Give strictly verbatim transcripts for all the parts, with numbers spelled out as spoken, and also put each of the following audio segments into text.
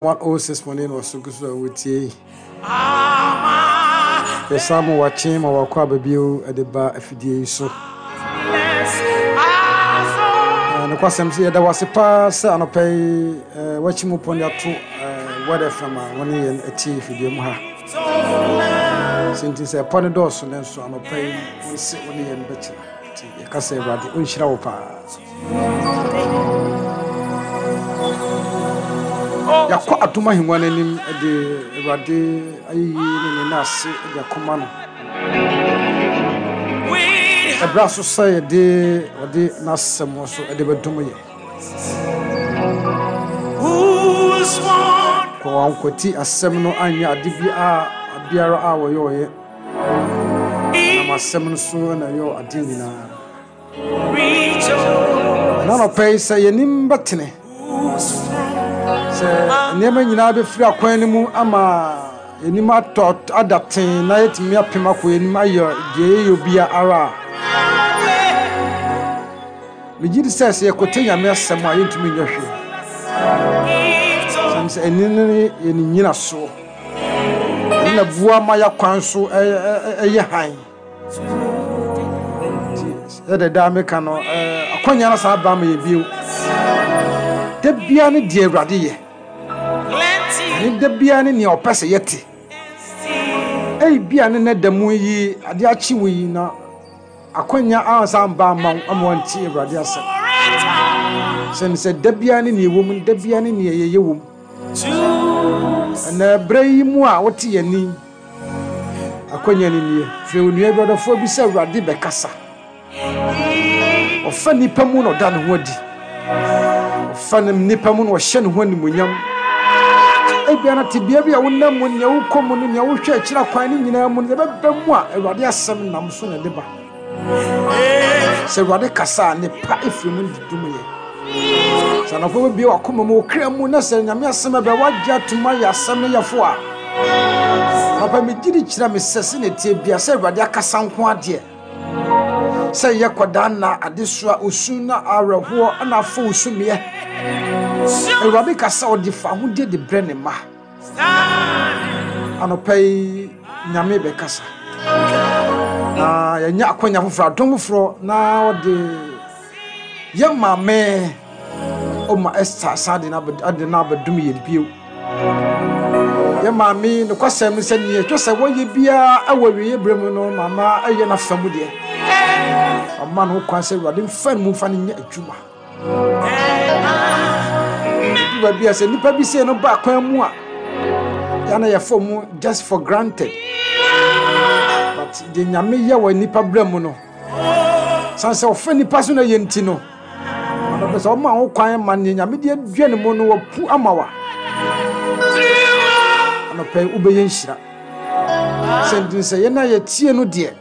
one oh six point nine wɔ so gu so a wotie yi. Yɛsan ma wakye ma wakɔ aba bio de ba afidie yi so. Nokwasɛm sɛ yɛda wase paa sɛ anɔpa yi wakyi mu pɔn de ato Word F M a wɔne yɛn atie afidie mu ha. Sɛ nti sɛ ɛpɔ ne dɔɔso ne nso anɔpa yi wɔn se wɔne yɛn bɛtena. Nti yɛka sɛ Awurade ɔnhyira wo paa. Yɛakɔ adom ahengua no anim de Awurade ayeyi ne ne nnaase de akɔma no. Ɛberɛ so sɛ yɛde ɔde n'asɛm nso de bɛdom yɛ. Kɔ wankwati asɛm no anyɛ ade bi a biara a wɔyɛ ɔyɛ. Nam asɛm no so na ɛyɛ ade nyinaa. Na anɔpa yi sɛ yɛnim bɛtene sɛ nneɛma nyinaa bɛfiri akwan no mu ama yɛnim atɔ ada ten na yɛtumi apem akɔ yɛnim ayɛ deɛ yɛyɛ obiara a megye di sɛ sɛ yɛkɔte Nyame asɛm a yɛntumi nyɛ hwee. Sɛm sɛ ɛne ne yɛne nyina soɔ ɛne na boa ma yɛakwan so ɛyɛ hann. Sɛ daa meka no akwanya no saa ba ma yɛ bio. Da bia ne deɛ Awurade yɛ. Ne da bia ne nea ɔpɛ sɛ yɛte. Ei bia ne ne da mu yi ade akyi wo yi na akwanya ansa ba ma ama wanti Awurade asɛm. Sɛ sɛ da bia ne nea ɛwɔ mu, da bia ne nea yɛyɛ wɔ mu. Ɛnɛ berɛ yi mu a wote yɛn ni akwanya ne nie. Frɛ onua bi ɔdɔfoɔ bi sɛ Awurade bɛkasa. Ɔfa nipa mu na ɔda ne ho adi. Ɔfa nipa mu na ɔhyɛ ne ho animuonyam. Ebia na tebea bi a wonam mu, nea wokɔ mu no, nea wohwɛ akyiri akwan ne nyinaa mu no, yɛbɛba mu a Awurade asɛm nam so na ɛde ba. Sɛ Awurade kasa a, ne pa efiri mu de dum yɛ. Sɛ anɔpa bɛbie w'akoma mu, wo kra mu, na sɛ Nyame asɛm ɛbɛ wagye atom ayɛ asɛm no yɛfo a, anɔpa megye di kyerɛ me sɛ sɛ ne tie bia sɛ Awurade akasa nko adeɛ. Sɛ yɛ kɔdaa na adesoa osu na awerɛhoɔ na afɔ osu meɛ. Awurade kasa ɔde fa ahodie de brɛ ne mma. Anɔpa yi Nyame bɛkasa. Na yɛnya akwanya foforɔ, adom foforɔ na ɔde yɛ maame ɔma Esther san de na abɛdom yɛn bio. Yɛ maame nokwasɛm sɛ nea ɛtwa sɛ wɔyɛ biara ɛwɔ awieeɛ berɛ mu no, mama ɛyɛ n'afa mu deɛ. Ɔma no kwan sɛ Awurade mfa no mu mfa no nyɛ adwuma. Ebi baabi a sɛ nnipa bi sei no ba kwan mu a, yɛn na yɛfa mu just for granted. But deɛ Nyame yɛ wɔ nnipa berɛ mu no, san sɛ ɔfa nnipa so na yɛ nti no, ɔno pɛ sɛ ɔma ho kwan ma nea Nyame de adua ne mu no wapu ama wa. Anɔpa yi wobɛyɛ nhyira. Sɛ nti sɛ yɛn a yɛtie no deɛ,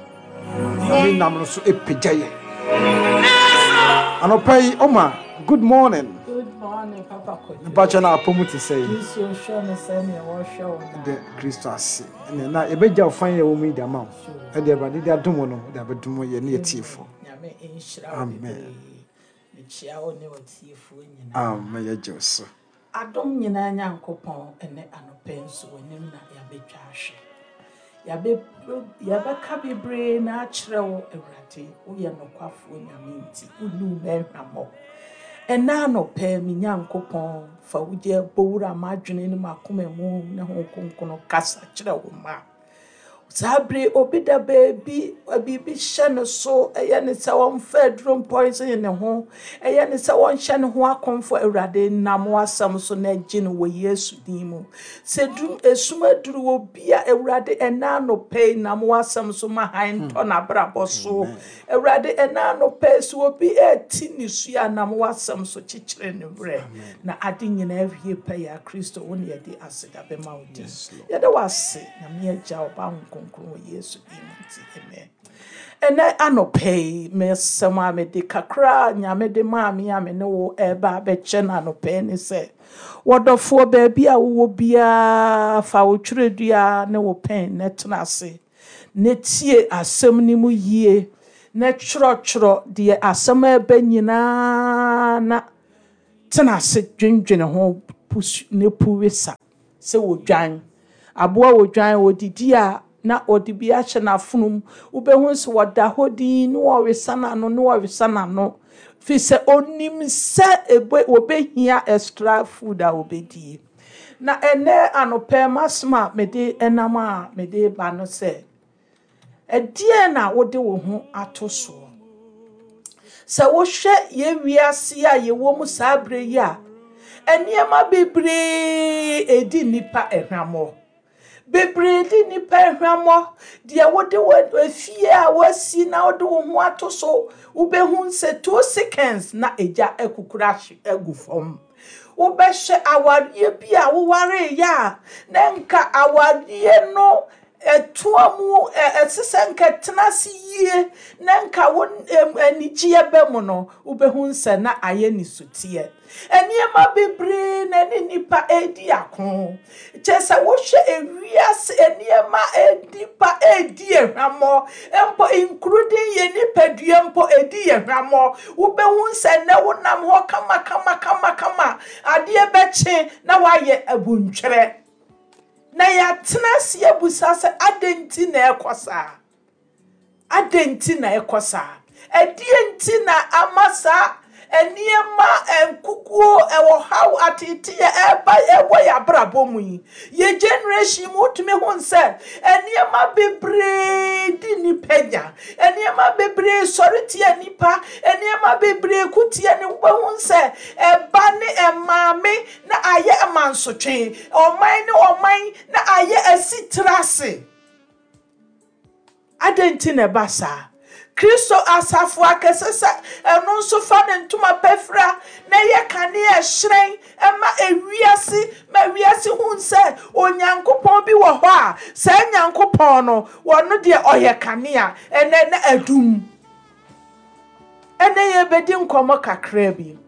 Nyame nam no so epagya yɛ. Anɔpa yi ɔma good morning. Good morning, Papa Kojo. Mpakyɛ na apɔ mu te sɛ yi. Kristo hwɛ me sɛ nea wɔhwɛ wo na. De Kristo ase. Ɛnna na yɛbɛgya wo fan yɛ wɔ mu yi de ama wo. Ɛde Awurade de adom no, de abɛdom yɛ ne yɛtiefo. Nyame nhyira wo Amen. bebree. Mekyia wo ne w'atiefoɔ nyinaa. Amen, yɛgye wo so. Adom nyinaa Nyankopɔn ɛnɛ anɔpa nso w'anim na yɛabɛtwa ahwɛ. Yɛabɛ yɛbɛka bebree na akyerɛ wo Awurade, woyɛ nokwafoɔ Nyame nti, wonni wo mɛhwammɔ. Ɛnɛ anɔpa me Nyankopɔn fa wo gye bɔwura m'adwene ne m'akoma mu ne ho kronkron kasa kyerɛ wo mma. Saa bere obi da baabi, biribi hyɛ ne so, ɛyɛ ne sɛ wɔmfa aduro poison ne ho, ɛyɛ ne sɛ wɔnhyɛ ne ho akɔmfo. Awurade nam w'asɛm so na agye no wɔ Yesu din mu. Sɛ dum esum aduru obi a, Awurade ɛnɛ anɔpa yi nam w'asɛm so ma hann ntɔ n'abrabɔ so. Awurade ɛnɛ anɔpa yi sɛ obi ɛti ne su a, nam w'asɛm so kyekyere ne werɛ. Na ade nyinaa awie pɛ yɛ Kristo wo ne yɛde aseda bɛma wo din. Yɛde w'ase, Nyame Agya, Ɔba, Honhom Kronkron wɔ Yesu din mu nti, amen. Ɛnɛ anɔpa yi, mesɛm a mede kakra a Nyame de maa me a me ne wo ɛreba abɛkyɛ no anɔpa yi ne sɛ, wɔdɔfoɔ baabi a wowɔ biara, fa wo twerɛdua ne wo pɛn na tena ase, na tie asɛm no mu yie, na twerɛtwerɛ deɛ asɛm a ɛbɛ nyinaa na tena ase dwendwene ho, pu ne pu wesa sɛ odwan. Aboa odwan odidi a na ɔde bi ahyɛ n'afonom. Wobɛhu sɛ wɔda hɔ din na wɔresa n'ano na wɔresa n'ano. Firi sɛ onim sɛ ebe obehia extra food a obɛdie. Na ɛnɛ anɔpɛ m'asɛm a mede ɛnam a mede ba no sɛ, ɛdeɛn na wode wo ho ato soɔ? Sɛ wohwɛ yɛn wiase a yɛwɔ mu saa berɛ yi a, nneɛma bebree edi nnipa ahwammɔ. Bebree di nnipa ahwammɔ. Deɛ wode wɔ efie a woasi na wode wo ho ato so, wobɛhu sɛ two seconds na egya akukuru ahye agu fam. Wobɛhyɛ awareɛ bi a wowareeɛ a, na nka awareɛ no ɛtoa mu ɛsɛ sɛ nka tena ase yie na nka wo anigyeɛ bɛ mu no, wobɛhu sɛ na ayɛ ne soteɛ. Nneɛma bebree na ne nnipa edi ako. Kyerɛ sɛ wohwɛ ewiase nneɛma nnipa edi ehwammɔ mpo, including yɛ nipadua mpo edi ehwammɔ. Wobɛhu sɛ nnɛ wonam hɔ kama kama kama kama, adeɛ bɛkye na wayɛ abuntwerɛ. Na yɛatena ase abusa sɛ adɛn nti na ɛkɔ saa? Adɛn nti na ɛkɔ saa? Ɛdeɛ nti na ama saa nneɛma nkukuo ɛwɔ haw ateteɛ ɛba ɛwɔ yɛ abrabɔ mu yi? Yɛ generation mu wotumi hu sɛ nneɛma bebree di nipa nya. Nneɛma bebree sɔre tia nipa. Nneɛma bebree ko tia ne. Wobɛhu sɛ ɛba ne ɛmaame na ayɛ amansotwe. Ɔman ne ɔman na ayɛ asitire ase. Adɛn nti na ɛba saa? Kristo asafo akɛse sɛ ɛno nso fa ne ntoma pɛfira na ɛyɛ kanea ɛhyerɛn ɛma ewiase ma ewiase hu sɛ Onyankopɔn bi wɔ hɔ a saa Nyankopɔn no wɔno deɛ ɔyɛ kanea ɛnɛ na adum. Ɛnɛ yɛbɛdi nkɔmmɔ kakra bi.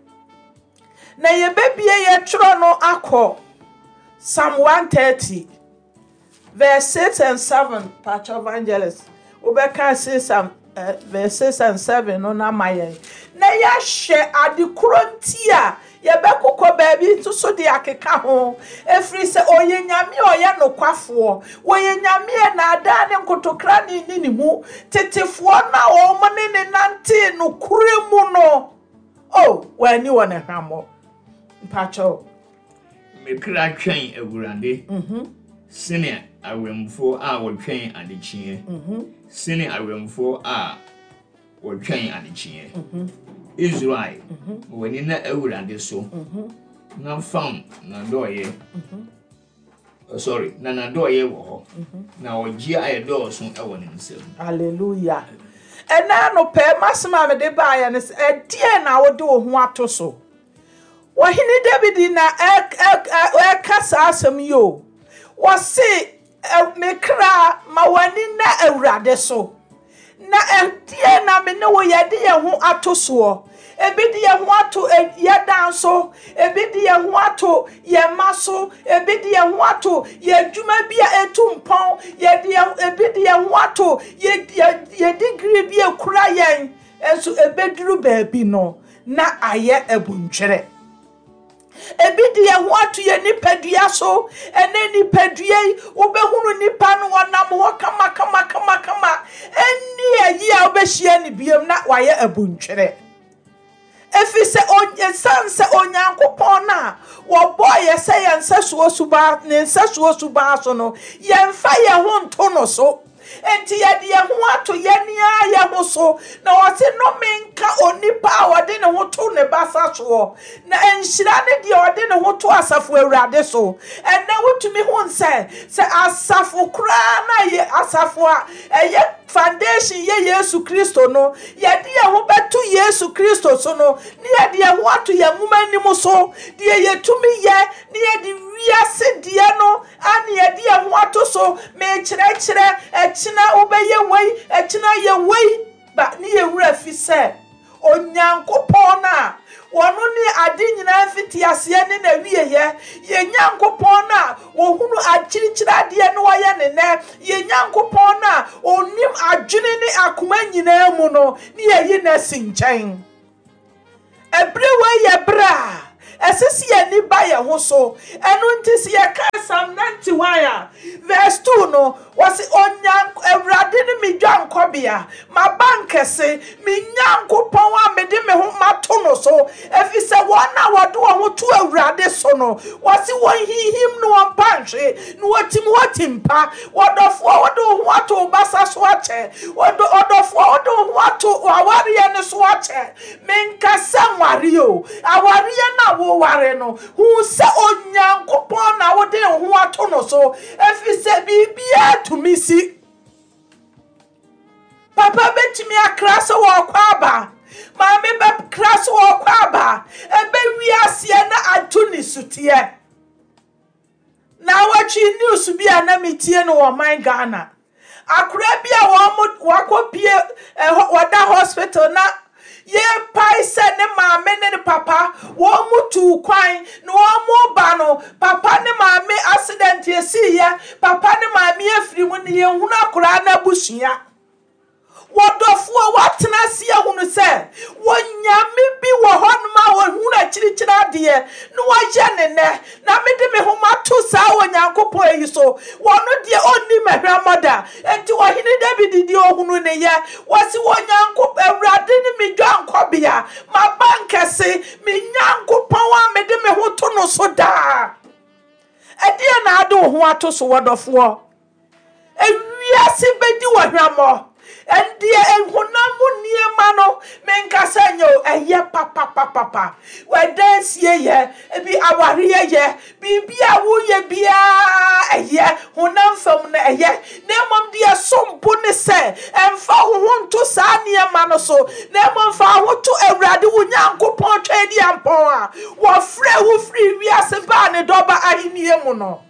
Na yɛbɛbie yɛtwerɛ no akɔ Psalm one thirty verse six and seven. Pastor Evangelist, wobɛka six and uh, verse six and seven no na ma yɛn. Na yɛahwɛ ade koro nti a yɛbɛkokɔ baabi nso so de akeka ho. Ɛfiri sɛ ɔyɛ Nyame a ɔyɛ nokwafoɔ. Wɔyɛ Nyame a naadaa ne nkotokra ne ne ne mu. Tetefoɔ no a wɔn ne ne nantee nokorɛ mu no, oh, wɔani wɔ ne hwammɔ. Mpakyɛw. Me kra twɛn Awurade sene awɛmfoɔ a wɔtwɛn adekyeɛ, sene awɛmfoɔ a wɔtwɛn adekyeɛ. Israel, ma w'ani na Awurade so na fam n'adɔeɛ. Oh, sorry, na n'adɔeɛ wɔ hɔ na ɔgye a ɛdɔɔso wɔ ne nsam. Hallelujah. Ɛnɛ anɔpɛ m'asɛm a mede baeɛ no sɛ, ɛdeɛn na wode wo ho ato so? Wɔhene David na ɛ- ɛ- ɛ- ɛka saa asɛm yi o. Wɔse ɛ, me kra, ma w'ani na Awurade so. Na ɛdeɛn na me ne wo yɛde yɛn ho ato soɔ? Ebi de yɛn ho ato ɛ- yɛn dan so, ebi de yɛn ho ato yɛn mma so, ebi de yɛn ho ato yɛn adwuma bi a etu mpɔn, yɛde yɛn ebi de yɛn ho ato yɛ yɛ yɛ degree bi ekura yɛn nso, ebeduru baabi no na ayɛ abuntwerɛ. Ebi de yɛn ho ato yɛn nipadua so. Ɛnɛ nipadua yi, wobɛhunu nipa no, wɔnam hɔ kama kama kama kama, ɛnni ayi a wobɛhyia ne biam na wayɛ abuntwerɛ. Ɛfiri sɛ ɛsiane sɛ Onyankopɔn no a wɔbɔɔ yɛ sɛ yɛn nsɛsoɔ subaa ne nsɛsoɔ subaa so no, yɛmfa yɛn ho nto no so. Enti yɛde yɛn ho ato yɛn ara yɛn ho so. Na wɔse nnome nka onipa a ɔde ne ho to ne basa soɔ, na nhyira ne deɛ ɔde ne ho to asafo Awurade so. Ɛnɛ wotumi ho sɛ sɛ asafo koraa na yɛ asafo a ɛyɛ foundation yɛ Yesu Kristo no, yɛde yɛn ho bɛto Yesu Kristo so no, ne yɛde yɛn ho ato yɛn nwoma anim so deɛ yɛtumi yɛ, ne yɛde wiase deɛ no ane yɛde yɛn ho ato so. Mekyerɛkyerɛ ɛkyena wobɛyɛ wei, ɛkyena yɛ wei ba, ne yɛwura fi sɛ Onyankopɔn no a wɔno ne ade nyinaa mfiti aseɛ ne n'awieyɛ, yɛn Nyankopɔn no a wɔhunu akyirikyiri adeɛ ne wɔyɛ ne nɛ, yɛn Nyankopɔn no a ɔnim adwene ne akoma nyinaa mu no, ne yɛyi no asi nkyɛn. Ɛberɛ wei yɛ berɛ a Ɛsɛ sɛ yɛn ani ba yɛn ho so. Ɛno nti sɛ yɛka Psalm ninety-one a, verse two no, wɔsi Onyank Awurade ne me dwankɔbea, m'abankɛse, me Nyankopɔn a mede me ho mato no so. Ɛfiri sɛ wɔn a wɔde wɔn ho to Awurade so no, wɔsi wɔn hinhim no wɔn mpa nhwe, na wɔtim hɔ tim pa. Wɔdɔfoɔ, wode wo ho ato wo basa so akyɛ. Ɔdɔfoɔ, wode wo ho ato awareɛ no so akyɛ. Menkasa nware o, awareɛ no a woware no, hu sɛ Onyankopɔn na wode wo ho ato no so. Ɛfiri sɛ biribiara tumi si. Papa bɛtumi akra sɛ wɔkɔ aba, maame bɛkra sɛ wɔkɔ aba, ɛbɛwi aseɛ na ato ne suteɛ. Na awɔtwe news bi a na metie no wɔ man Ghana. Akora bi a wɔn wakɔpie ɛhɔ, wɔda hospital na yɛpae sɛ ne maame ne ne papa wɔn mu tu kwan na wɔn mu ba no, papa ne maame accident esiiɛ, papa ne maame afiri mu ne yɛnhunu akora n'abusua. Wɔdɔfoɔ, wɔatena ase ahunu sɛ wɔnyame bi wɔ hɔnom a wɔhunu akyirikyiri adeɛ na wɔyɛ ne nɛ, na mede me ho mato saa Onyankopɔn yi so. Wɔno deɛ ɔnni m'ahwammɔ da. Enti ɔhene David deɛ ɔhunu ne yɛ. Wɔsi Onyankopɔn Awurade ne me dwankɔbea, m'abankɛse, me Nyankopɔn a mede me ho to no so daa. Ɛdeɛ na ade wo ho ato so, wɔdɔfoɔ? Ewiase bɛdi wɔ hwammɔ. Ɛndeɛ ehunam mu nneɛma no, menkasa nyɛ o, ɛyɛ papapapapa. Ɛdan sie yɛ, ebi awareɛ yɛ, biribi a woyɛ biara ɛyɛ, honam fam no ɛyɛ. Na mmom deɛ som bo ne sɛ, ɛmfa wo ho nto saa nneɛma no so, na mmom fa wo ho to Awurade wo Nyankopɔn Twɛdeampɔn a wɔfrɛ wo firi wiase baa ne dɔba ahenni mu no.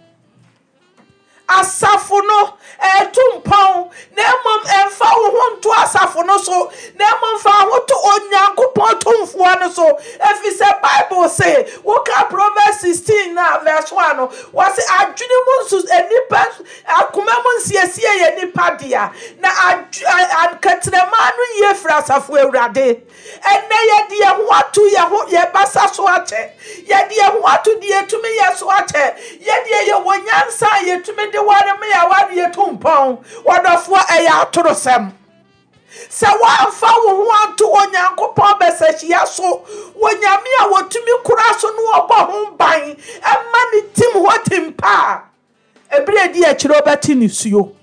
Asafo no ɛto mpɔn, na mmom ɛmfa wo ho nto asafo no so, na mmom fa wo ho to Onyankopɔn tumfoɔ no so. Ɛfiri sɛ Bible se, woka Proverbs sixteen na verse one no, wɔse adwene mu nso nnipa akoma mu nsiesie yɛ nipa dea, na akɛtrɛma no yie firi asafo Awurade. Ɛnnɛ yɛde yɛn ho ato yɛn ho yɛn basa so akyɛ, yɛde yɛn ho ato deɛ yɛtumi yɛ so akyɛ, yɛdeɛ yɛwɔ nyansa a yɛtumi de ware me a ware yɛtu mpɔn. Wɔdɔfoɔ, ɛyɛ atorosɛm. Sɛ woamfa wo ho anto Onyankopɔn bɛsɛhyia so, wɔ Nyame a wɔtumi kora so no ɔbɔ ho ban ɛma ne tim hɔ tim pa a, ɛberɛ di akyire wobɛte nisuo.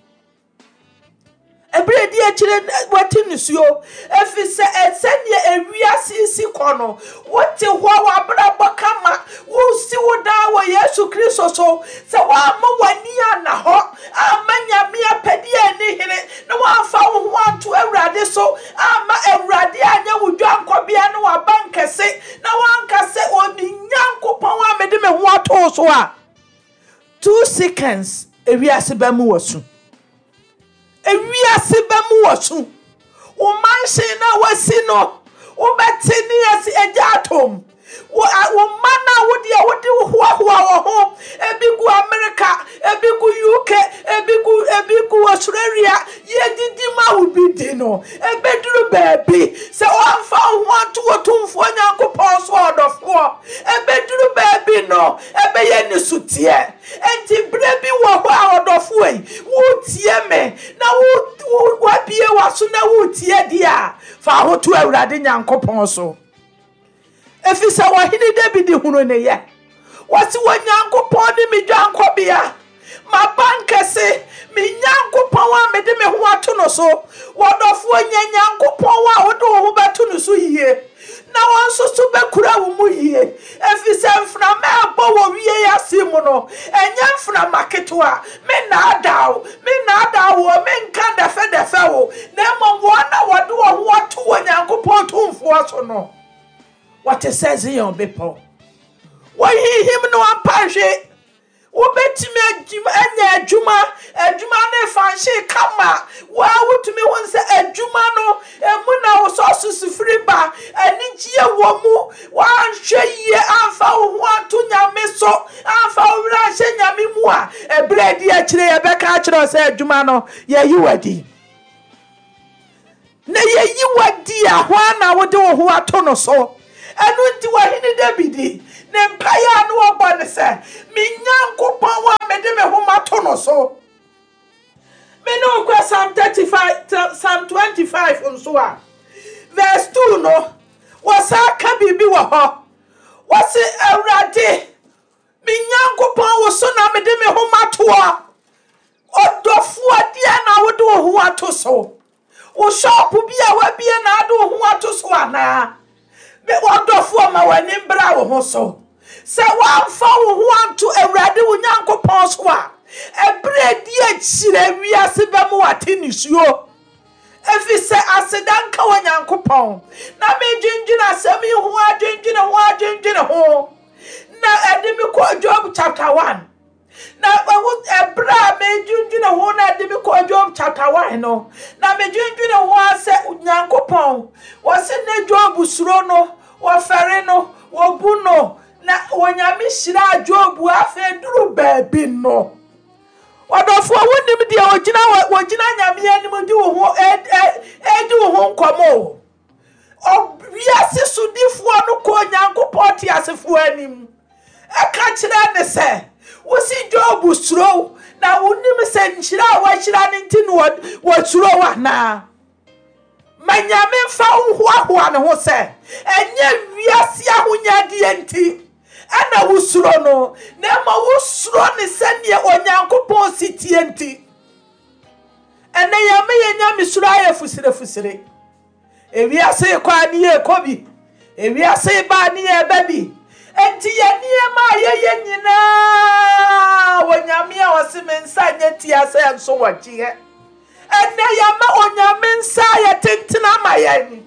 Ɛberɛ di akyire wɔte nisuo. Ɛfiri sɛ sɛdeɛ ewiase si kɔ no, wote hɔ w'abrabɔ kama, wosi wo dan wɔ Yesu Kristo so. Sɛ woamma w'ani anna hɔ, amma Nyame apɛdeɛ ani hene, na woamfa wo ho anto Awurade so, amma Awurade anyɛ wo dwankɔbea ne w'abankɛse, na woanka sɛ ɔne Nyankopɔn a mede me ho ato so a, two seconds ewiase bɛmu wɔ so. Ewiase bɛmu wɔ so. Wo mansion na wasi no, wobɛte ne yɛsi agya atom. Wo mma na wo deɛ wode hoahoa wɔ ho, ebi gu America, ebi gu U K, ebi gu ebi gu Australia, yɛdidi ma wo bi di no. Ebeduru baabi sɛ wɔamfa wo ho anto wɔ tumfoɔ Nyankopɔn so ɔdɔfoɔ. Ebeduru baabi no, ɛbɛyɛ ne suteɛ. Enti berɛ bi wɔ hɔ a ɔdɔfoɔ yi, wotie me na wo wo wabie w'aso na wotie deɛ a, fa ho to Awurade Nyankopɔn so. Ɛfiri sɛ ɔhene David hunu ne yɛ. Wɔsi wɔ Nyankopɔn ne me dwankɔbea, m'abankɛse, me Nyankopɔn a mede me ho ato no so. Wɔdɔfoɔ, nya Nyankopɔn a wode wo ho bɛto no so yie, na wɔn nso so bɛkura wo mu yie. Ɛfiri sɛ mframa a ɛbɔ wɔ wie ase mu no, ɛnyɛ mframa ketewa. Me nnaadaa wo, me nnaadaa wo, me nka dɛfɛdɛfɛ wo, na mmom wɔn a wɔde wɔn ho ato wɔ Nyankopɔn tumfoɔ so no, wɔte sɛ Zion bepɔ. Wɔhinhim no ampa nhwe. Wobɛtumi anya adwuma, adwuma no fanhye kama. Waa wotumi hu sɛ adwuma no emu na wo sɔso firi ba, anigyeɛ wɔ mu. Woanhwɛ yie amfa wo ho anto Nyame so, amfa wo werɛ anhyɛ Nyame mu a, ɛberɛ a ɛdi akyire yɛbɛka akyerɛ wo sɛ adwuma no yɛyi wo adi. Na yɛyi wo adi a, hwan na wode wo ho ato no so? Ɛno nti wɔhene David ne mpaeɛ a ne wɔbɔ ne sɛ, me Nyankopɔn a mede me ho mato no so. Me ne wo kɔ Psalm thirty-five, Psalm twenty-five nso a, verse two no, wɔsan ka biribi wɔ hɔ. Wɔse, Awurade, me Nyankopɔn wo so na mede me ho matoɔ. Ɔdɔfoɔ deɛ na wode wo ho ato so. Wo shop bi a wabie na ade wo ho ato so anaa? Me ɔdɔfoɔ ma w'ani mbra wo ho so. Sɛ woamfa wo ho anto Awurade wo Nyankopɔn so a, ɛberɛ di akyire wiase bɛmu wate nisuo. Ɛfiri sɛ aseda nka wɔ Nyankopɔn. Na medwendwene asɛm yi ho, adwendwene ho, adwendwene ho. Na ɛde me kɔ Job chapter one. Na ɛberɛ a medwendwene ho na ɛde me kɔ Job chapter one no, na medwendwene ho asɛ Nyankopɔn, wɔse ne Job suro no, wɔfɛre no, wɔbu no, na Onyame hyira Job afei duru baabi no. Ɔdɔfoɔ, wonim deɛ ogyina wɔgyina Nyame anim di wo ho edi wo ho nkɔmmɔ o. Wiase sodifoɔ no kɔ Nyankopɔn teasefoɔ anim. Ɛka kyerɛ ne sɛ, wosi Job suro na wonim sɛ nhyira a wɔahyira ne nti no wɔsuro anaa? Ma Nyame mfa wo hoahoa ne ho sɛ, ɛnyɛ wiase ahonyadeɛ nti ɛna wosuro no, na mmom wosuro ne sɛdeɛ Onyankopɔn si tie nti. Ɛnɛ yɛma yɛn Nyame suro ayɛ fusire-fusire. Ewiase kɔ a ne yɛkɔ bi, ewiase ba a ne yɛba bi. Enti yɛn nneɛma a yɛyɛ nyinaa wɔ Nyame a ɔse me nsa nyɛ tia sɛ nso wɔgyeɛ. Ɛnɛ yɛma Onyame nsa ayɛ tenten ama yɛn.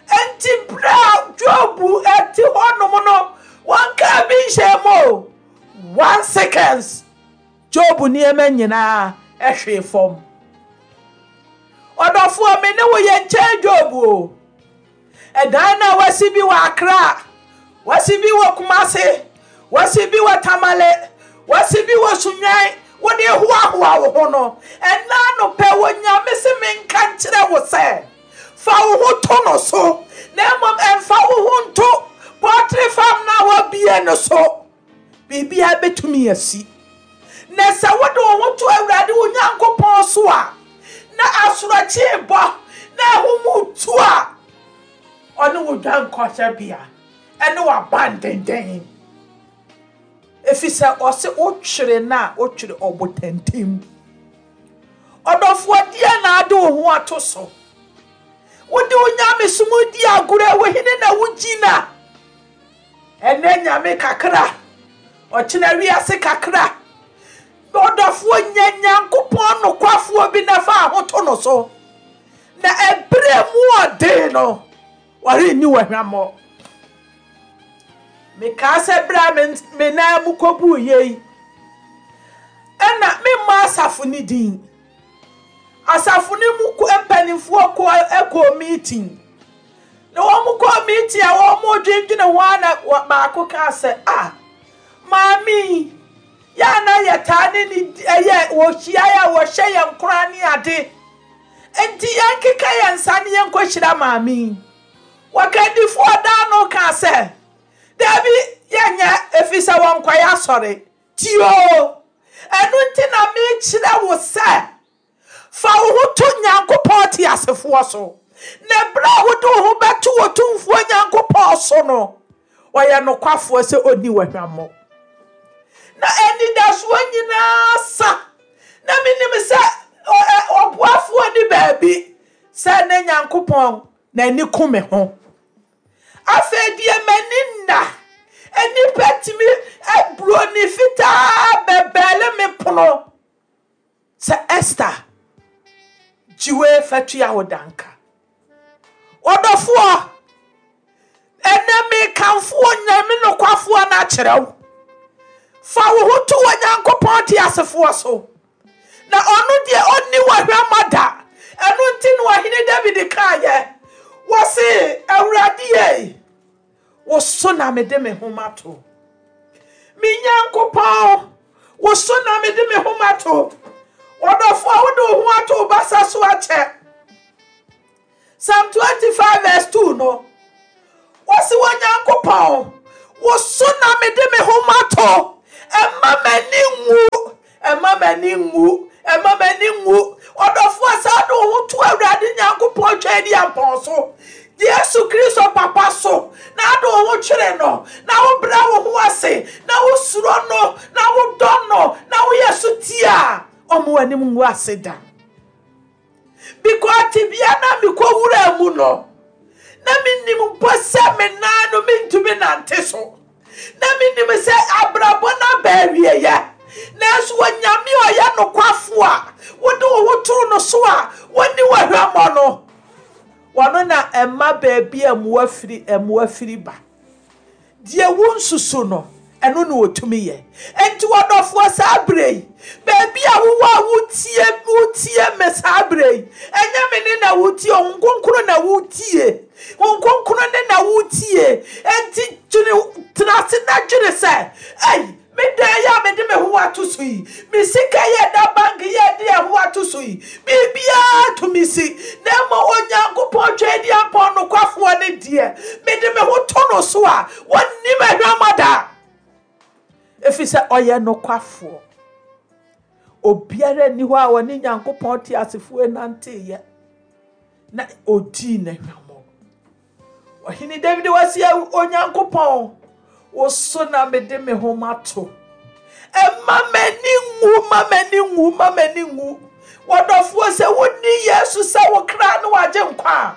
Enti berɛ a Job ɛte hɔnom no, wɔnkaa bi nhyɛ mu o. One seconds, Job nneɛma nyinaa ɛhwee fam. Ɔdɔfoɔ, me ne wo yɛ nkyɛn Job o. Ɛdan na wasi bi wɔ Accra, wasi bi wɔ Kumasi, wasi bi wɔ Tamale, wasi bi wɔ Sunyani, wode hoahoa wo ho no. Ɛna anɔpɛ wɔ Nyame se menka nkyerɛ wo sɛ, fa wo ho to no so, na mmom ɛmfa wo ho nto poultry farm na wabie no so. Biribiara bɛtumi asi. Na sɛ wode wo ho to Awurade wo Nyankopɔn so a, na asorɔkye bɔ, na ahum tu a, ɔne wo dwankɔhyɛbea, ɛne w'abandenden. Ɛfiri sɛ ɔse wotwere no a, wotwere ɔbotantim. Ɔdɔfoɔ, deɛ na ade wo ho ato so. Wode wo nyamesom di agorɔ, wo hene na wogyina. Ɛnɛ Nyame kakra, ɔkyena wiase kakra. Ɔdɔfoɔ, nya Nyankopɔn nokwafoɔ bi na fa ahoto no so. Na ɛberɛ mu ɔden no, wɔrenni wɔ hwammɔ. Mekaa sɛ berɛ a me nan mu kɔbuu yei, ɛna memma asafo ne din. Asafo ne mu mpanimfoɔ kɔ kɔɔ meeting. Na wɔn kɔɔ meeting a wɔn dwendwene ho a na baako kaa sɛ, ah, maame, yɛ na yɛtaa ne ne ɛyɛ wɔhyia a wɔhyɛ yɛn koraa ne ade. Enti yɛnkeka yɛn nsa ne yɛnkɔhyira maame. Wɔkandifoɔ daa no kaa sɛ, daabi, yɛnyɛ ɛfiri sɛ wɔnkɔyɛ asɔre. Tio, ɛno nti na mekyerɛ wo sɛ, fa wo ho to Nyankopɔn teasefoɔ so. Na berɛ a wode wo ho bɛto Otumfoɔ Nyankopɔn so no, ɔyɛ nokwafoɔ sɛ ɔnni wɔ hwammɔ. Na anidasoɔ nyinaa sa. Na menim sɛ ɔboafoɔ ni baabi sɛ ne Nyankopɔn n'ani ku me ho. Afei deɛ m'ani nna, nnipa tumi aburoni fitaa bɛbɛɛle me pono sɛ Esther, gyiwe fatua wo danka. Ɔdɔfoɔ, ɛnɛ mekamfo Onyame nokwafoɔ no akyerɛ wo. Fa wo ho to Onyankopɔn teasefoɔ so. Na ɔno deɛ ɔnni wɔ hwammɔ da. Ɛno nti na ɔhene David kaeɛ, wɔse, Awurade ye, wo so na mede me ho mato. Me Nyankopɔn, wo so na mede me ho mato. Ɔdɔfoɔ, wode wo ho ato wo basa so akyɛ. Psalm twenty-five verse two no, Wɔsi Onyankopɔn, wo so na mede me ho mato. Ɛmma m'ani nwu, ɛmma m'ani nwu, ɛmma m'ani nwu. Ɔdɔfoɔ, saa de wo ho to Awurade Nyankopɔn Tweaduampɔn so, Yesu Kristo papa so, na ade wo ho twere no, na wobrɛ wo ho ase, na wosuro no, na wodɔ no, na woyɛ so tie a, ɔmo w'anim ngu ase da. Because tebea na mekɔ wura mu no, na menim mpo sɛ me nan no mentumi nante so. Na menim sɛ abrabɔ no aba awieyɛ. Nanso Onyame a ɔyɛ nokwafo a wode wo ho too no so a wɔni wɔ hwammɔ no, wɔno na ɛma baabi a mmoa firi mmoa firi ba. Deɛ wo nsusu no, ɛno na wɔtumi yɛ. Enti wɔdɔfoɔ, saa berɛ yi, baabi a wowɔ a wotie wotie me saa berɛ yi, ɛnyɛ me ne na wotie, Honhom Kronkron na wotie. Honhom Kronkron ne na wotie. Enti dwene, tena ase na dwene sɛ, ei, me dan yi a mede me ho ato so yi, me sika yɛ da bank yɛ de ɛho ato so yi, biribiara tumi si. Na mmom Onyankopɔn Tweaduampɔn nokwafoɔ ne deɛ, mede me ho to no so a, wɔnnim ahwammɔ da. Ɛfiri sɛ ɔyɛ nokwafoɔ. Obiara nni hɔ a ɔne Nyankopɔn te asefoɔ nanteeɛ na odii n'ahwammɔ. Ɔhene David wasi Onyankopɔn, wo so na mede me ho mato. Ɛmma m'ani nwu, ma m'ani nwu, ma m'ani nwu. Wɔdɔfoɔ, sɛ wonni Yesu sɛ wo kra ne wagye nkwa a,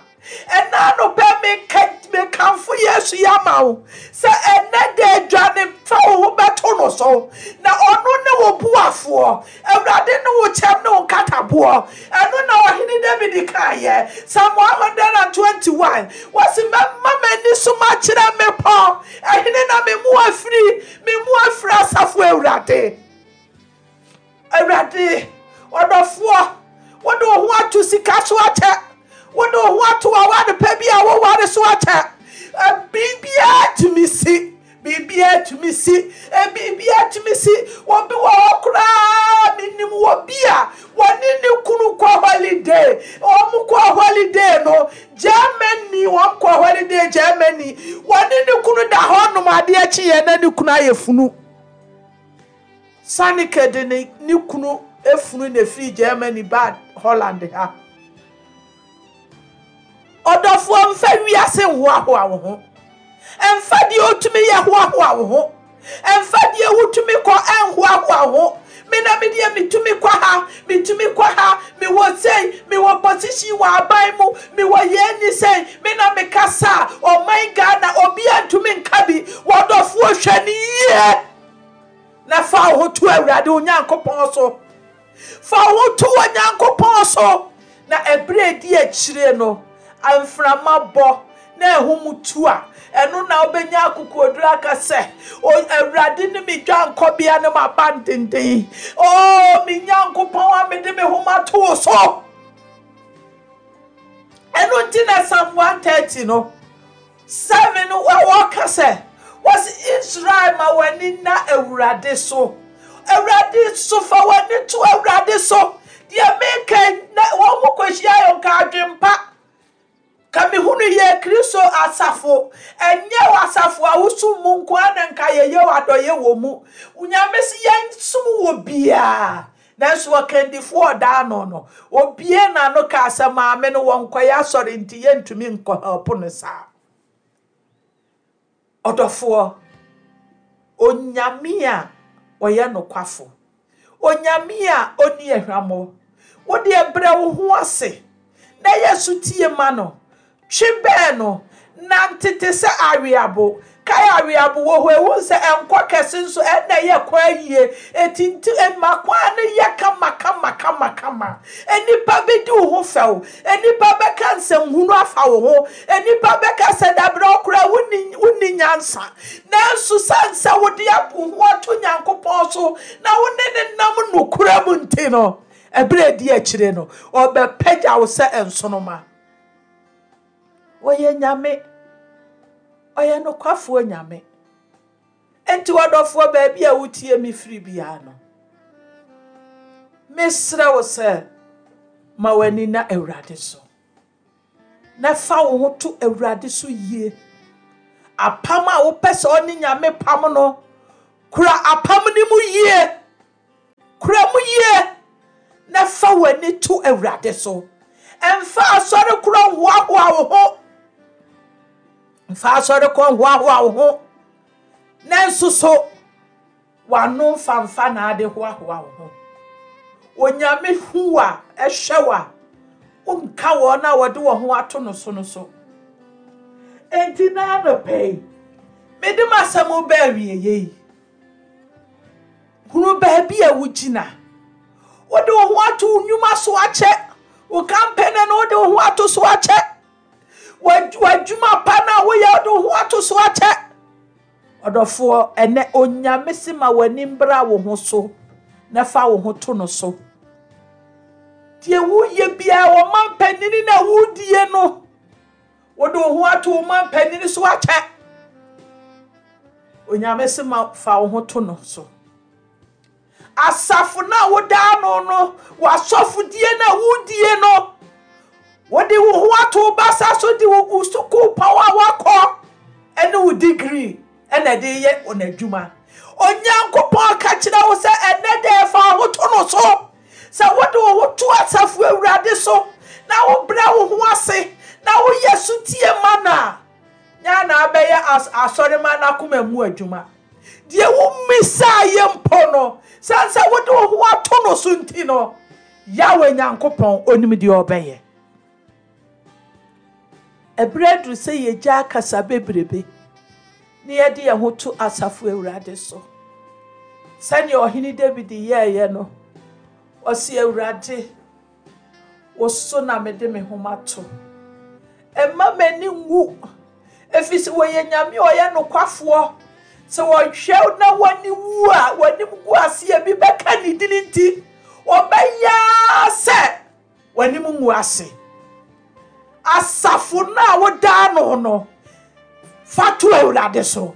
ɛna anɔpɛ meka mekamfo Yesu yi ama wo sɛ ɛnɛ da adwane fa wo ho bɛto no so, na ɔno ne wo boafoɔ. Awurade ne wo kyɛm ne wo nkataboɔ. Ɛno na ɔhene David kaeɛ, Psalm one hundred and twenty-one, wɔsi, "Mɛma m'ani so makyerɛ mmepɔ, ɛhene na me mu afiri? Me mu afiri asafo Awurade." Awurade, ɔdɔfoɔ, wode wo ho ato sika so akyɛ, wode wo ho ato aware pɛ bi a woware so akyɛ, biribiara tumi si, biribiara tumi si, biribiara tumi si. Obi wɔ hɔ koraa, menim wɔ bi a wɔne ne kunu kɔ holiday. Wɔn kɔ holiday no Germany, wɔn kɔ holiday Germany. Wɔne ne kunu da hɔ nom, adeɛ kyeeɛ na ne kunu ayɛ funu. Sanike de ne ne kunu efunu na efiri Germany ba Holland ha. Ɔdɔfoɔ, mfa wiase nhoahoa wo ho, mfa deɛ otumi yɛ hoahoa wo ho, mfa deɛ wotumi kɔ ɛnhoahoa wo ho. Me na me deɛ metumi kɔ ha, metumi kɔ ha, mewɔ sei, mewɔ position wɔ aban mu, mewɔ yɛn ni sɛn, me na mekasa a ɔman Ghana obiara ntumi nka bi. Wɔdɔfoɔ, hwɛ ne yie na fa wo ho to Awurade Onyankopɔn so. Fa wo ho to Onyankopɔn so, na ɛberɛ edi akyire no, mframa bɔ na ɛhom tu a, ɛno na wobɛnya akokoɔduru aka sɛ, "Awurade ne me dwankɔbea ne m'abandenden, o me Nyankopɔn a mede me ho mato wo so." Ɛno nti na Psalm one thirty no seven no wɔka sɛ, wɔsi, "Israel, ma w'ani na Awurade so, Awurade so, fa w'ani to Awurade so." Deɛ meka na wɔn mo kɔhyia yɛ nka adwempa ka mehunu yɛ Kristo asafo. Ɛnyɛ wɔ asafo a wosom mu nko ara na nka yɛyɛ wɔ adɔyɛ wɔ mu. Nyame si yɛnsom wɔ biara, nanso ɔkandifoɔ ɔdaa no no obie n'ano kaa sɛ maame no wɔnkɔyɛ asɔre nti yɛntumi nkɔ help no saa. Ɔdɔfoɔ, Onyame a ɔyɛ nokwafo, Onyame a ɔni ahwammɔ, wode brɛ wo ho ase na yɛ so tie ma no, twe bɛn no, nante te sɛ aweabo. Kae aweabo wɔ hɔ, ehu sɛ ɛnkɔ kɛse nso ɛna ɛyɛ kwan yie. Eti nti ɛma kwan no yɛ kama kama kama kama. Enipa bɛdi wo ho fɛw, enipa bɛka nsɛmhunu afa wo ho, enipa bɛka sɛ dabrɛ ɔkora wonni wonni nyansa, nanso san sɛ wode apo ho ato Nyankopɔn so na wo ne ne nam nokora mu nti no, ɛberɛ edi akyire no, ɔbɛpagya wo sɛ nsonoma. Wɔyɛ Nyame, ɔyɛ nokwafoɔ Nyame. Nti wɔdɔfoɔ, baabi a wotie me firi biara no, mesrɛ wo sɛ ma w'ani na Awurade so, na fa wo ho to Awurade so yie. Apam a wopɛ sɛ ɔne Nyame pam no, kura apam no mu yie. Kura mu yie na fa w'ani to Awurade so. Ɛmfa asɔre korɔ nhoahoa wo ho. Mfa asɔre korɔ nhoahoa wo ho. Nanso so, w'ano mfamfa na ade hoahoa wo ho. Onyame hu a, ɛhwɛ wo a, wonka wɔn a wɔde wɔn ho ato no so no so. Enti na anɔpa yi, mede m'asɛm ba awieeɛ yi. Hunu baabi a wogyina. Wode wo ho ato wo nnwuma so akyɛ. Wo campaign no wode wo ho ato so akyɛ. W'adwuma pa no a woyɛ wode wo ho ato so akyɛ. Ɔdɔfoɔ, ɛnɛ Onyame si ma w'ani mbra wo ho so na fa wo ho to no so. Deɛ woyɛ biara wɔ mampanini na wodie no, wode wo ho ato wo mampanini so akyɛ. Onyame si ma fa wo ho to no so. Asafo na woda no no, w'asɔfodie na wodie no, wode wo ho ato wo basa so de wo sukuu pɔn a wakɔ ɛne wo degree ɛna ɛde yɛ wɔn adwuma. Onyankopɔn ka kyerɛ wo sɛ ɛnɛ deɛ fa wo ho to no so. Sɛ wode wo ho to asafo Awurade so na wobrɛ wo ho ase na woyɛ sotie ma no a, nya na abɛyɛ asɔrema n'akoma mu adwuma. Deɛ wommisaa yɛ mpo no, sane sɛ wode wo ho ato no so nti no, Yahweh Nyankopɔn onim deɛ ɔbɛyɛ. Ɛberɛ aduru sɛ yɛgya akasa bebrebe na yɛde yɛn ho to asafo Awurade so. Sɛnea ɔhene David yɛeɛ no, ɔse Awurade, wo so na mede me ho mato. Ɛmma m'ani nwu, ɛfiri sɛ wɔyɛ Nyame a ɔyɛ nokwafoɔ. Sɛ wɔhwɛ na w'ani wu a, w'anim gu ase a bi bɛka ne din nti, wɔbɛyɛ sɛ w'anim ngu ase. Asafo no a woda no no, fa to Awurade so.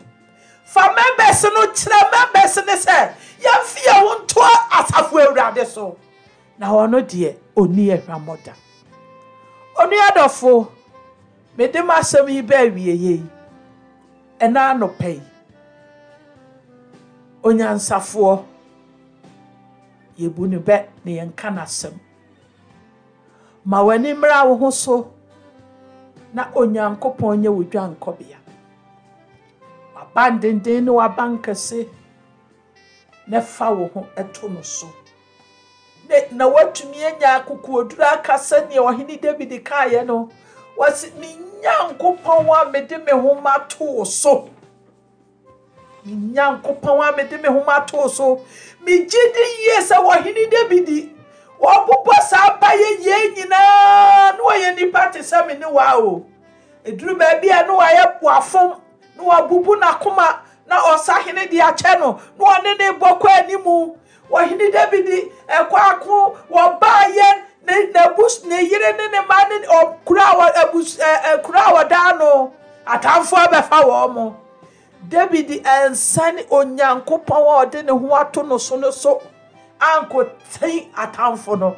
Fa members no kyerɛ members ne sɛ yɛmfi yɛn ho nto asafo Awurade so. Na ɔno deɛ ɔnni ahwammɔ da. Onua dɔfo, mede m'asɛm yi ba awieeɛ yi, ɛna anɔpa yi, onyansafoɔ, yɛbu ne bɛ na yɛnka n'asɛm. Ma w'ani mmra wo ho so na Onyankopɔn nyɛ wo dwankɔbea. W'abandenden ne w'abankɛse na fa wo ho to no so. Na woatumi anya akokoɔduru aka sɛnea ɔhene David kaeɛ no, wɔse, me Nyankopɔn a mede me ho mato wo so. Me Nyankopɔn a mede me ho mato so. Megye di yie sɛ ɔhene David wɔbobɔ saa mpaeɛ yie nyinaa na wɔyɛ nipa te sɛ me ne wa o. Ɛduru baabi a na wɔayɛ wafom na wabubu n'akoma na ɔsahene de akyɛ no na ɔne ne bɔ kɔ animu. Ɔhene David ɛkɔ ako wɔbaayɛ ne n'abus ne yere ne ne mma ne ɔkura a abus ɛ kura a wɔda no atamfoɔ abɛfa wɔn mo. David ɛnsane Onyankopɔn a ɔde ne ho ato no so no so ankɔtɛn atamfo no.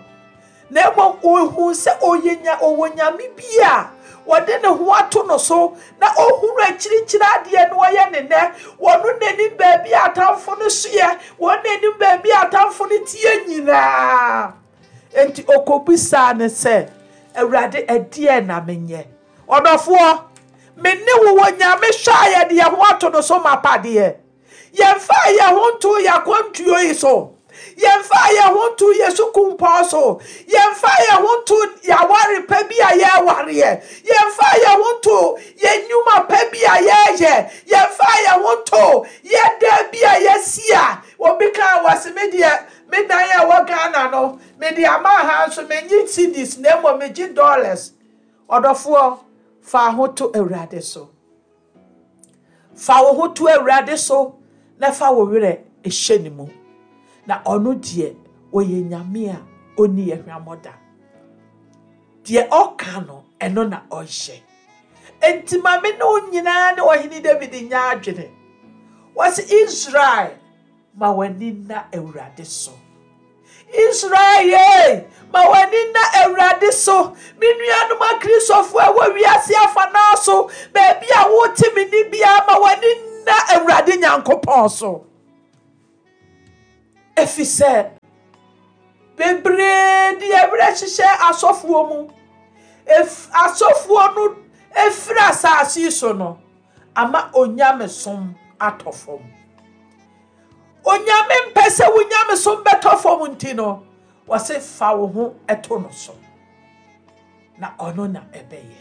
Na mmom ohu sɛ ɔyɛ nya ɔwɔ Nyame bi a wɔde ne ho ato no so na ohunu akyirikyiri adeɛ no ɔyɛ ne nɛ. Wɔno n'anim baabi a atamfo no soɛ, wɔn n'anim baabi a atamfo no tie nyinaa. Enti okobisaa ne sɛ, Awurade, ɛdeɛn na menyɛ? Ɔdɔfoɔ, me ne wo wɔ Nyame hwɛ a yɛde yɛn ho ato no so mapadeɛ. Yɛmfa yɛn ho nto yɛn akwantuo yi so. Yɛmfa yɛn ho nto yɛn sukumpɔn so. Yɛmfa yɛn ho nto yɛn aware pa bi a yɛrewareɛ. Yɛmfa yɛn ho nto yɛn nnwuma pa bi a yɛreyɛ. Yɛmfa yɛn ho nto yɛn dan bi a yɛasi a obi kaa wɔ se me deɛ me dan a ɛwɔ Ghana no, mede ama ha nso menye cedis na mmom megye dollars. Ɔdɔfoɔ, fa ho to Awurade so. Fa wo ho to Awurade so na fa wo werɛ hyɛ ne mu. Na ɔno deɛ ɔyɛ Nyame a ɔnni ahwammɔ da. Deɛ ɔka no, ɛno na ɔyɛ. Enti ma me ne wo nyinaa ne ɔhene David nya adwene. Wɔse Israel, ma w'ani nna Awurade so. Israel ye, ma w'ani nna Awurade so. Me nuanom Akristofoɔ a ɛwɔ wiase afanaa so, baabi a wote me ni biara, ma w'ani nna Awurade Nyankopɔn so. Ɛfiri sɛ, bebree de ɛwerɛ hyehyɛ asɔfoɔ mu. Ef asɔfoɔ no efiri asase yi so no, ama onyamesom atɔ fam. Onyame mpɛ sɛ wo nyamesom bɛtɔ fam nti no, wɔse fa wo ho to no so. Na ɔno na ɛbɛyɛ.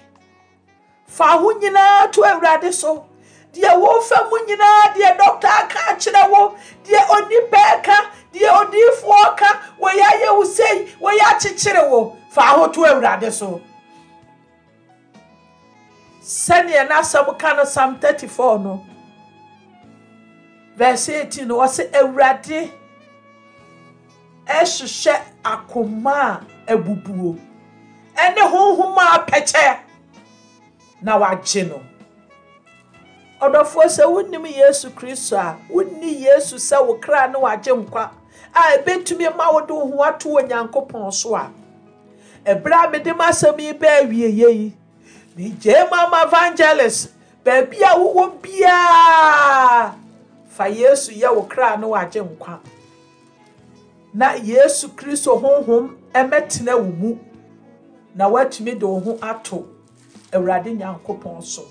Fa ho nyinaa to Awurade so. Deɛ wofa mu nyinaa, deɛ dɔkta aka akyerɛ wo, deɛ onipa ɛka, deɛ odiyifoɔ ka, wɔyɛ ayɛ wo sei, wɔyɛ akyekyere wo. Fa ho to Awurade so. Sɛdeɛ n'asɛm ka no Psalm thirty-four no, verse eighteen no, ɔsɛ Awurade ɛhyehyɛ akoma a abubuo ɛne honhom a apɛkyɛ na wagye no. Ɔdɔfoɔ, sɛ wonim Yesu Kristo a, wonni Yesu sɛ wo kra ne wagye nkwa a ebetumi ma wode wo ho ato Onyankopɔn so a, ɛberɛ a mede m'asɛm yi bɛɛ awie yi, megye ma evangelist, baabi a wowɔ biara, fa Yesu yɛ wo kra ne wagye nkwa. Na Yesu Kristo honhom ɛmɛtena wo mu, na woatumi de wo ho ato Awurade Nyankopɔn so.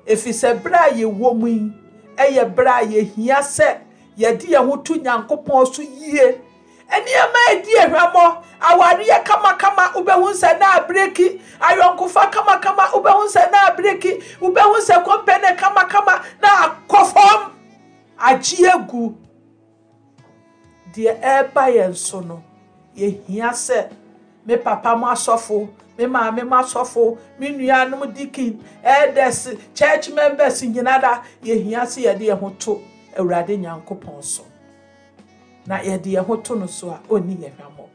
Ɛfiri sɛ berɛ a yɛwɔ mu yi, ɛyɛ berɛ a yɛhia sɛ yɛde yɛn ho to Nyankopɔn so yie. Nneɛma a ɛdi ahwammɔ, awareɛ kamakama, wobɛhu sɛ na abreki, ayɔnkofa kamakama, wobɛhu sɛ na abreki, wobɛhu sɛ kɔmpɛne kamakama na akɔ fam, agye agu. Deɛ ɛreba yɛn so no, yɛhia sɛ me papa mo asɔfo, me maame mo asɔfo, me nuanom deacon, elders, church members nyinaa da, yɛhia sɛ yɛde yɛn ho to Awurade Nyankopɔn so. Na yɛde yɛn ho to no so a, ɔnni yɛn hwammɔ.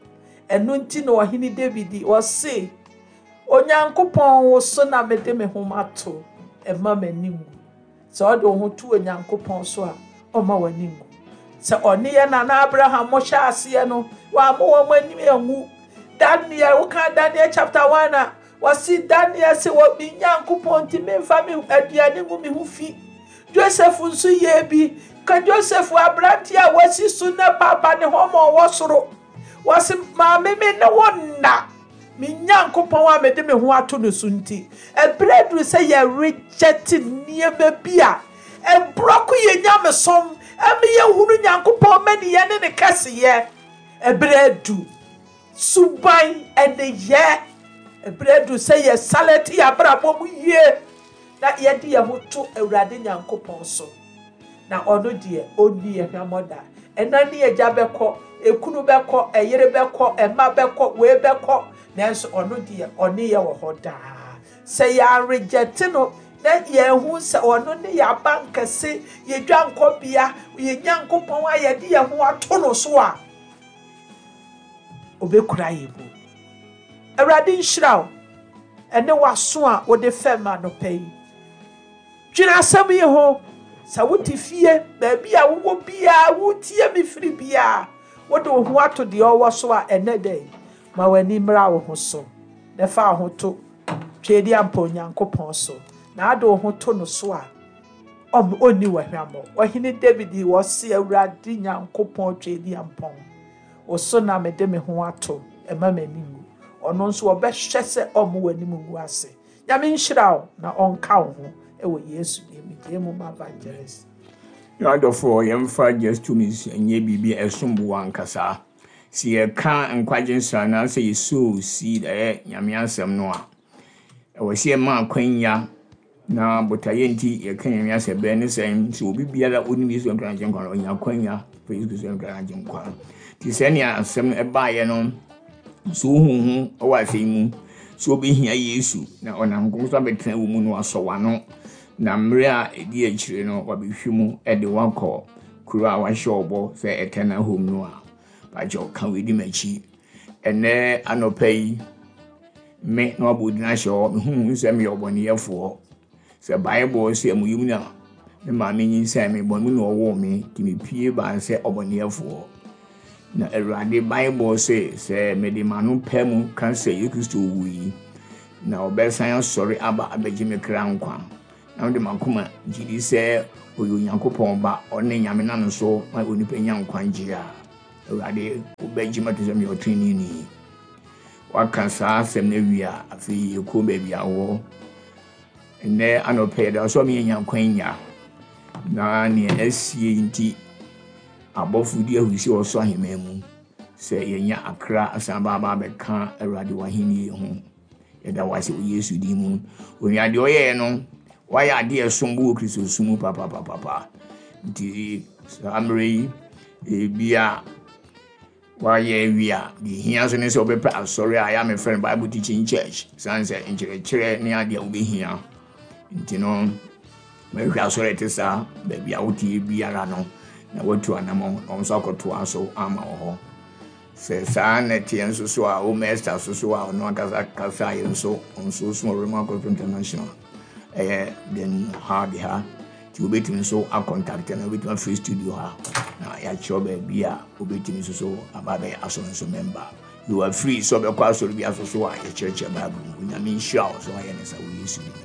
Ɛno nti na ɔhene David ɔse, Onyankopɔn wo so na mede me ho mato, ɛmma m'ani nwu. Sɛ ɔde wo ho to Onyankopɔn so a, ɔmma w'ani nwu. Sɛ ɔne yɛn nana Abraham mo hyɛ aseɛ no, wamma wɔn anim anwu. Daniel, woka Daniel chapter one a, wɔsi Daniel sɛ wɔ me Nyankopɔn nti memfa me aduane ngu me ho fi. Joseph nso yɛ bi. Ka Joseph aberante a wasi so na papa ne ho ma ɔwɔ soro. Wɔsi maame me ne wo nna. Me Nyankopɔn a mede me ho ato no so nti. Ɛberɛ duru sɛ yɛreject nneɛma bi a ɛborɔko yɛ nyamesom, ɛma yɛhunu Nyankopɔn mmaniyɛ ne ne kɛseyɛ. Ɛberɛ du suban ɛne yɛ. Ɛberɛ du sɛ yɛsalɛte yɛ abrabɔ mu yie na yɛde yɛn ho to Awurade Nyankopɔn so. Na ɔno deɛ ɔnni yɛn hwammɔ da. Ɛna ne agya bɛkɔ, ekunu bɛkɔ, ɛyere bɛkɔ, ɛma bɛkɔ, wei bɛkɔ, nanso ɔno deɛ ɔne yɛ wɔ hɔ daa. Sɛ yɛaregyɛte no na yɛn ho sɛ ɔno ne yɛ abankɛse, yɛ dwankɔbea, yɛ Nyankopɔn a yɛde yɛn ho ato no so a, obɛkura yɛn mu. Awurade nhyira wo ɛne w'aso a wode fɛm anɔpa yi. Dwene asɛm yi ho. Sɛ wote fie, baabi a wowɔ biara, wotie me firi biara, wode wo ho ato deɛ ɔwɔ so a, ɛnɛ da yi, ma w'ani mmra wo ho so na fa wo ho to Tweedi ampa Onyankopɔn so. Na ade wo ho to no so a, ɔnni w'ahwammɔ. Ɔhene David wɔse Awurade Nyankopɔn Tweedi ampɔn, wo so na mede me ho ato, ɛma m'ani ngu. Ɔno nso ɔbɛhwɛ sɛ ɔmmo w'anim ngu ase. Nyame nhyira wo na ɔnka wo ho ɛwɔ Yesu din mu. Gye mu ma evangelist. Yɛn adɔfoɔ, yɛmfa just two minutes nyɛ biribi a ɛsom bo ankasa. Sɛ yɛka nkwagye nsra anaasɛ yɛsow seed ɛyɛ Nyame asɛm no a, ɛwɔ sɛ yɛma akwanya na botaeɛ nti yɛka Nyame asɛm bɛn ne sɛn sɛ obi biara onim Yesu Kristo agye nkwa no, ɔnya akwanya fa Yesu Kristo agye nkwa. Nti sɛnea asɛm no ɛbaeɛ no, sɛ wohu ho ɛwɔ asɛm mu, sɛ wobɛhia Yesu na ɔnam nkɔm so abɛtena wo mu na wasɔ w'ano, na mmerɛ a ɛdi akyire no wabɛhwɛ mu ɛde wakɔ kuro a wahyɛ ɔbɔ sɛ eternal home no a, bakyɛ ɔka wei di m'akyi. Ɛnɛ anɔpa yi, me na wabɔ din ahyɛ hɔ, mehu sɛ meyɛ ɔbɔneyɛfoɔ. Sɛ Bible sɛ mu yi mu na me maame nyinsɛn me, bɔne mu na ɔwoo me, nti mepue baa sɛ ɔbɔneyɛfoɔ. Na Awurade Bible se sɛ mede m'ano pɛ mu ka sɛ Yesu Kristo wui na ɔbɛsan asɔre aba abɛgye me kra nkwa, na mede m'akoma gye di sɛ ɔyɛ Onyankopɔn ba, ɔne Nyame nam so ma onipa nya nkwagye a, Awurade wobɛgye me ato sɛ meyɛ ɔtreneeni. Waka saa asɛm no awie a, afei yɛkɔ baabi a wɔ. Nnɛ anɔpɛ yɛda wo sɛ ɔma yɛnya nkwanya, na nea asie nti abɔfo di ahurusi wɔ ɔsoro ahemman mu sɛ yɛnya akra asan ba aba abɛka Awurade w'ahenni ho. Yɛda wo ase wɔ Yesu din mu. Onua, deɛ ɔyɛɛ no, wayɛ adeɛ a ɛsom bo wɔ Kristo som mu papapapapa. Nti saa mmerɛ yi, ebia wayɛ awie a, deɛ ehia so ne sɛ wobɛpɛ asɔre a ɛyɛ a mefrɛ no Bible Teaching Church, san sɛ nkyerɛkyerɛ ne adeɛ a wobɛhia. Nti no, mɛhwɛ asɔre a ɛte saa, baabi a wote biara no, na woatu anammɔn na wɔn nso akɔtoa so ama wɔ hɔ. Sɛ saa na ɛteɛ nso so a, wo Esther so so a ɔno ankasa kasa yɛ nso, ɔnso so wɔ Rhema Gospel International, ɛyɛ den ha de ha. Nti wobɛtumi nso acontact no, wobɛtumi afiri studio ha na yɛakyerɛw baabi a wobɛtumi nso so aba abɛyɛ asɔre nso member. You are free sɛ ɔbɛkɔ asɔre bi aso so a yɛkyerɛkyerɛ Bible mu. Onyame nhyira wo sɛ wayɛ ne sa wɔ Yesu din mu.